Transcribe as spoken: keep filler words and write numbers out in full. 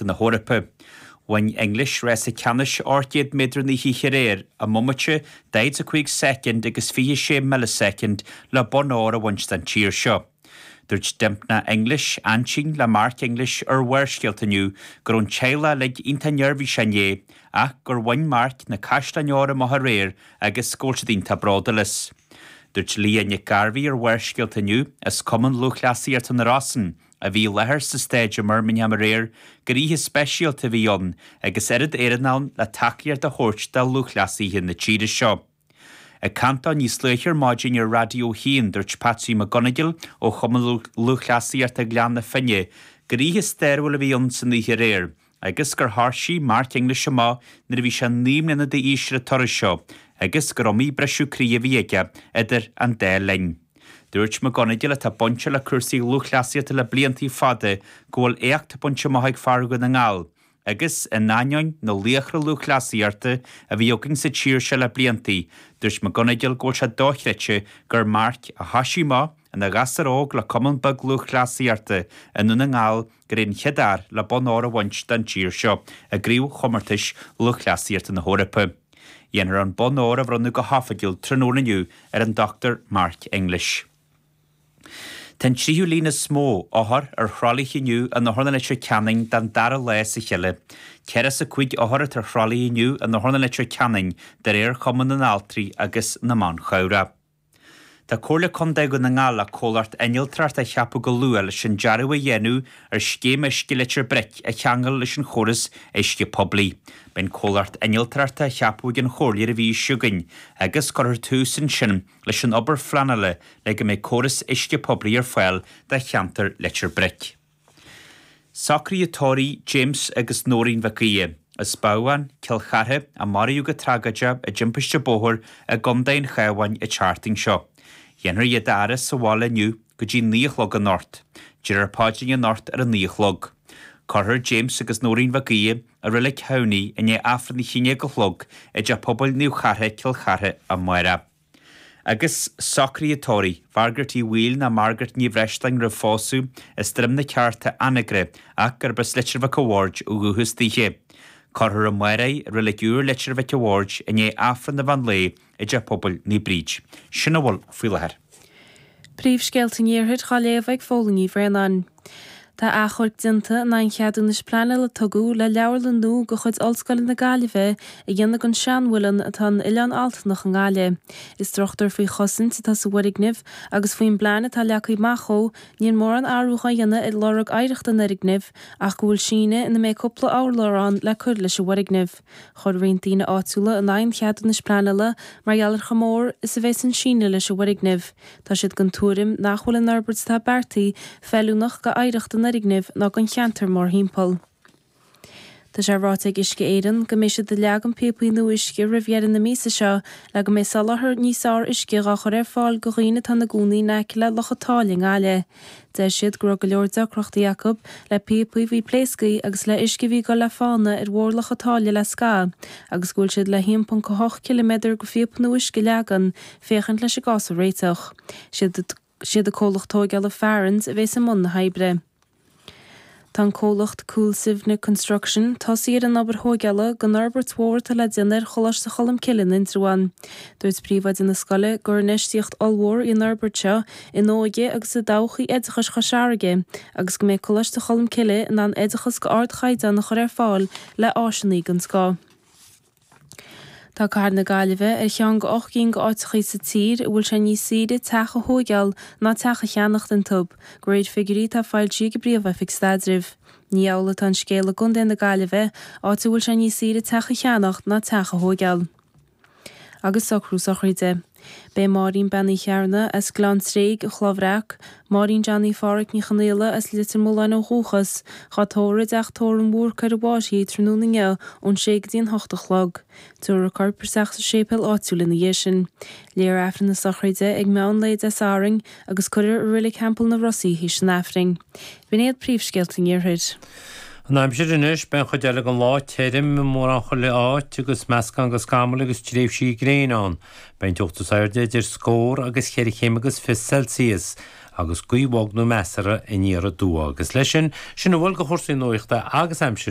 Lúthchleasaíochta na hEorpa. Bhain English rása ceannais ocht gcéad méadar an oíche aréir i mbomaite daichead a cúig soicind agus fiche sé milleasoicind le bonn óir a bhaint don tír seo. Dúirt Dympna English, aintín le Mark English ar Bharrscéalta inniu go raibh an teaghlach uilig iontach neirbhíseach inné ach gur bhain Mark na caisleáin óir amach aréir agus go bhfuil siad iontach bródúil as. Dúirt Leah Nic Gairbhí ar Bharrscéalta inniu as Cumann Lúthchleasaíochta na Rosann a bhí i láthair sa staid i mBirmingham aréir gur oíche speisialta a bhí ann agus oiread Éireann ann le tacaíocht a thabhairt do lúthchleasaithe na tíre seo. Ag caint dó níos luaithe ar maidin ar Raidió a hAon dúirt Patsy McGonigal ó Chumann Lúthchleasaíochta Ghleann na Finne gur oíche stairiúil a bhí ann san oíche aréir agus gur thosaigh Mark English amach nuair a bhí sé naoi mbliana d'aois ar an turas seo agus gur iomaí briseadh croí a bhí aige idir an dá linn. Dúirt McGonigal atá bainte le cúrsaí lúthchleasaíochta le blianta fada go bhfuil éacht bainte amach ag fear Dhún na nGall, agus in ainneoin na laochra lúthchleasaíochta a bhí againn sa tír seo le blianta, dúirt McGonigal go bhfuil sé dochreidte gur Mark a thosaigh amach ina ghasúr óg le cumann beag lúthchleasaíochta i nDún na nGall gur é an chéad fhear le bonn óir a bhaint don tír seo i gcraobhchomórtais lúthchleasaíochta na hEorpa. Dhéanfar an bonn óir a bhronnadh go hoifigiúil tráthnóna inniu ar an Dr Mark English. Tá an tríú líon is mó othar ar thralaithe inniu in Otharlann Leitir Ceanainn don dara lá as a chéile. Ceithre is a cúig othar atá ar thralaí inniu in Otharlann Leitir Ceanainn de réir Chumann na nAltraí agus na mBan Chabhrach. Tá Comhairle Contae Dhún na nGall le comhlacht innealtóireachta a cheapadh go luath leis an dearadh a dhéanamh ar scéim uisce Leitir Bric a cheangal leis an chóras uisce poiblí. Beidh an comhlacht innealtóireachta á cheapadh ag an Chomhairle ar an mhí seo chugainn agus cuirfear tús ansin leis an obair phleanála le go mbeidh córas uisce poiblí ar fáil do cheantar Leitir Bric. Socruithe tórraimh James agus Nóirín Mhic Aoidh, as Babhán, Cill Chartha, a maraíodh go tragóideach i dtimpiste bóthair i gContae an Chabháin an tseachtain seo. Dhéanfar iad a fhaire sa bhaile inniu go dtí naoi a chlog anocht. Déarfar paidrín anocht ar a naoi a chlog. Cuirfear James agus Nóirín Mhic Aoidh i Reilig Thamhnaigh i ndiaidh Aifreann a haon déag a chlog i dTeach Pobail Naomh Chartha, Cill Chartha amárach. Agus socruithe tórraimh, Mhargaret Uí Bhaoill ná Margaret Ní Bhreisleáin roimh phósadh as Droim na Ceárta Anagaire ach gurb as Leitir Mhic a' Bhaird ó dhúchas daoithe. Cuirfear amárach í i Reilig Úr Leitir Mhic a' Bhaird i ndiaidh Aifreann an mheán lae i dTeach Pobail Naomh Bríd. Sin a bhfuil faoi láthair. Príomhscéalta an Iarthair á léamh ag Fódhla Ní Bhraonáin. Tá achomharc déanta in aghaidh an cheadúnais pleanála a tugadh le leabharlann nua de chuid Ollscoile na Gaillimhe a dhéanamh den seanmhuileann atá in Oileán Altanach i nGaillimh. Is struchtúr faoi chosaint atá sa bhfoirgneamh agus faoin bplean atá leagtha amach dhó níl mórán athrú á dhéanamh ar lorg oidhreachta an fhoirgnimh ach go bhfuil síneadh ina mbeidh cúpla urlár ann le cur leis an bhfoirgneamh. Chuir roinnt daoine áitiúla in aghaidh an cheadúnais pleanála mar gheall ar chomh mór is a bheas an síneadh leis an bhfoirgneamh. Tá siad den tuairim nach bhfuil an fhorbairt atá beartaithe feiliúnach d'oidhreacht an fhoirgnimh ná don cheantar mórthimpeall. Tá sé ráite ag Uisce Éireann go mbeidh siad ag leagan píopaí nua uisce roimh dheireadh na míosa seo le go mbeidh soláthar níos fearr uisce á chur ar fáil do dhaoine atá ina gcónaí in aice le Loch an tSáile i nGaillimh. Deir siad go raibh go leor deacrachtaí acu le píopaí a bhí pléasctha agus le uisce a bhí ag dul le fána ar bharr Loch an tSáile le scamhadh agus go bhfuil siad le haon ponc a hocht ciliméadar de phíopa nua uisce a leagan féachaint leis an gcás a réiteach. Siad an comhlacht tógála Farrans a bheas i mbun na hoibre. Tá an comhlacht Cúil Suibhne Construction tosaithe ar an obair thógála don fhorbairt mhór atá le déanamh ar Choláiste Cholmcille in Indreabhán. Dúirt príomhoide na scoile gur infheistíocht ollmhór í an fhorbairt seo in óige agus i dtodhchaí oideachais Chois Fharraige agus go mbeidh Coláiste Cholmcille in ann oideachas d'ardchaighdeán a chur ar fáil le áiseanna den scoth. Tá Cathair na Gaillimhe ar cheann de ocht gcinn d'áiteachaí sa tír a bhfuil sé níos saoire teach a thóigeáil ná teach a cheannacht iontu, de réir figiúirí atá foilsithe ag an bPríomh-Oifig Staidrimh. Ní amhlaidh atá an scéal i gContae na Gaillimhe, áit a bhfuil sé níos saoire teach a cheannacht ná teach a thóigeáil. Agus socrú sochraide. Beidh Máirín Bean Uí Chearna as Gleann Tréig, an Chloich Bhreac, Máirín Johnny Pháraic Ní Chonaola as Leitir Mealláin ó dhúchas, dhá tórramh i dTeach Tórraimh an Bhúrca ar an bhFairche tráthnóna inniu ón sé go dtí an hocht a chlog. Tabharfar a corp isteach sa séipéal áitiúil ina dhiaidh sin. Léifear Aifreann na sochraide ag meán lae Dé Sathairn agus cuirfear i Reilig Theampall na Rosa í théis an Aifrinn. B'in iad príomhscéalta an Iarthair. An aimsir anois, beidh an chuid eile den lá tirim i mórán chuile áit agus meascán de scamaill agus tréimhsí gréine ann. Beidh an teocht is airde idir scór agus cheithre chéim agus fiche Celsius agus gaoth bhog nó measartha aniar aduaidh. Agus leis sin, sin a bhfuil de chúrsaí nuachta agus aimsire.